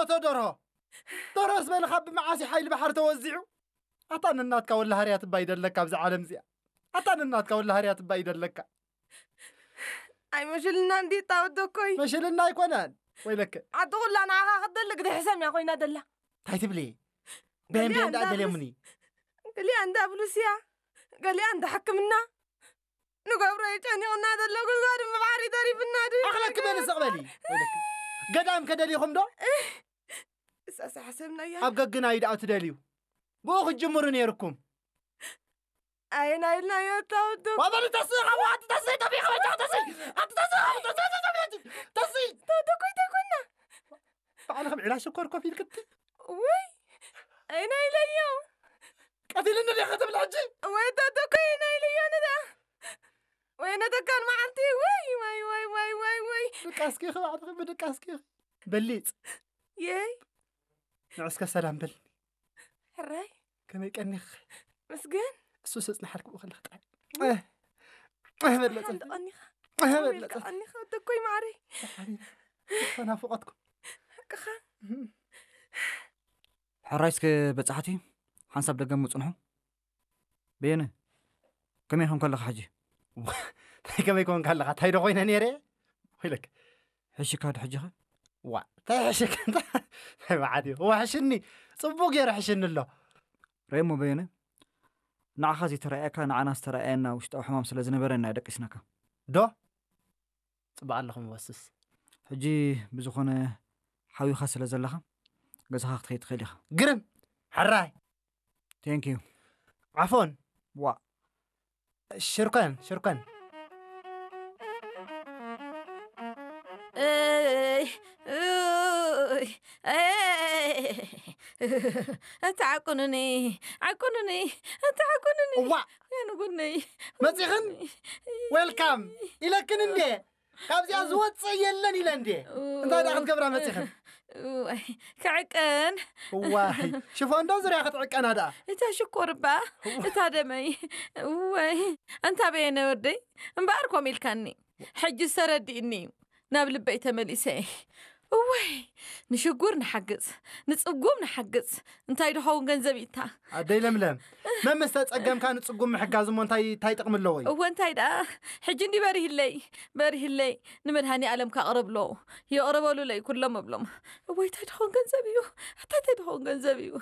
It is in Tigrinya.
ኣቶ ደርሆ፣ ደርሆ ዝበልኻ ብመዓስ ሓይሊ ባሕሪ ተወዚዑ? ኣታ ንናትካ ወላ ሃርያ ትባይ ደለካ ኣብዚ ዓለም እዚኣ። ኣታ ንናትካ ወላ ሃርያ ትባይ ደለካ። ኣይመሽልና እንዲ ጣወት ደኮይ። መሽልና ኣይኮነን። ወይለክ። ዓዲ ኩላ ንዓኻ ክትደሊ ግዲ ሕሰም እያ ኮይና ደላ። እንታይ ትብሊ? ቤን ቤን ደኣ ገሊኣ ገለሙኒ። ገሊኣ እንዳ ብሉስያ፣ ገሊኣ እንዳ ሕክምና። ንገብሮ የጨኒቕና ዘሎ ጉድጓድ እምባሕሪ ተሪፍና ድ ኣኽለክ በሊ ስቕ በሊ። ወይለክ። ገዳም ከደሊኹም ዶ? እሳሳ ሓሰብናያ። ኣብ ገግናዩ ደኣ ትደልዩ? ብኡ ክትጅምሩ ነይርኩም። ኣየናይ ኢልናዮ ታወዶ። ዋበሊ ተስእ ካብ ዋቲ ተስእ ተፊ ከበጃ ተስእ ኣቲ ተስእ ካብ ተስእ ተስእ ተስእ ታወዶ ኮይታ ይኮና። ባዕልኹም ዒላ ሽኮር ኮፍ ኢልክቲ ውይ ኣይና ኢለዮ። ቀቲልኒ ዲኻ ትብል ሕጂ? ወይ ታወዶ ኮይና ኢለዮ ንዳ። ወይ ነተካን መዓልቲ ወይ ወይ ወይ ወይ ወይ ወይ። ድቃስኪ ባዕልኺ ብድቃስኪ በሊጽ የይ ንዕስከ ሰላም በል። ሕራይ ከመይ ቀኒኽ? ምስገን። እሱ ስጽናሓልክ ብኡ ከለኽ ጥራይ። እህ፣ እህ፣ በለጸ። ሓንቲ ቀኒኻ። እህ፣ ከመይ በለጸ። ኢልካ ቀኒኻ ደኮይ ማዕረይ። ተናፍቆትኩም። ሓቅኻ። ሕራይ እስከ በጻሕቲ ሓንሳብ ደገም ምጽንሑ። በየነ ከመይ ኮንካ ኣለኻ ሕጂ? እንታይ ከመይ ኮንካ ኣለኻ? እንታይ ዶ ኮይነ ነይረ? ወይለክ። ሕሽካ ዶ ሕጂኸ? ዋ እንታይ ሕሽክ እንታይ መዓት እዩ። ዋ ሕሽኒ ጽቡቅ ገይሩ ሕሽኒ ኣሎ። ረእሞ በየነ ንዓኻ ዘይተረኣየካ ንዓና ዝተረኣየና ውሽጣዊ ሕማም ስለ ዝነበረ ኢና ደቂስናካ። ዶ ጽቡቅ ኣለኹም ወስስ። ሕጂ ብዝኾነ ሓዊኻ ስለ ዘለኻ ገዛኻ ክትኸይድ ትኽእል ኢኻ። ግርም ሕራይ ቴንክ ዩ። ዓፎን ዋ ሽርከን ሽርከን እይ፣ እይ፣ እይ። ኣታ ዓቁኑኒ፣ ዓቁኑኒ፣ ኣታ ዓቁኑኒ። እዋ የንጉነይ። መጺኽን? ዌልካም ኢለክን እንዴ? ካብዚኣ ዝወፅእ የለን ኢለ እንዴ? እንታይ ደኣ ክትገብራ መጺኽን? እዋይ፣ ክዕቀን። እዋይ ሽፎን ዶ ዙርያ ክትዕቀና ደኣ? እታ ሽኮር እባ፣ እታ ደመይ። እወይ፣ ኣንታ በየነ ወደይ፣ እምበኣር ኮም ኢልካኒ። ሕጂ ዝተረዲእኒ እዩ። ናብ ልበይ ተመሊሰ። እወይ፣ ንሽጉር ንሓግዝ፣ ንጽጉም ንሓግዝ። እንታይ ድኸውን ገንዘብ ኢታ? ኣደይ ለምለም መመስ ተጸገምካ ንጽጉም ምሕጋዝ እሞ እንታይ እንታይ ጥቕሚ ኣለዎ እዩ? እወ እንታይ ደኣ፣ ሕጂ እንዲ በሪህለይ፣ በሪህለይ፣ ንመድሃኒ ኣለም ካቕረብሎ፣ የቕረበሉለይ ኩሎም እብሎም። እወይ እንታይ ድኸውን ገንዘብ እዩ? ኣታ እንታይ ድኸውን ገንዘብ እዩ?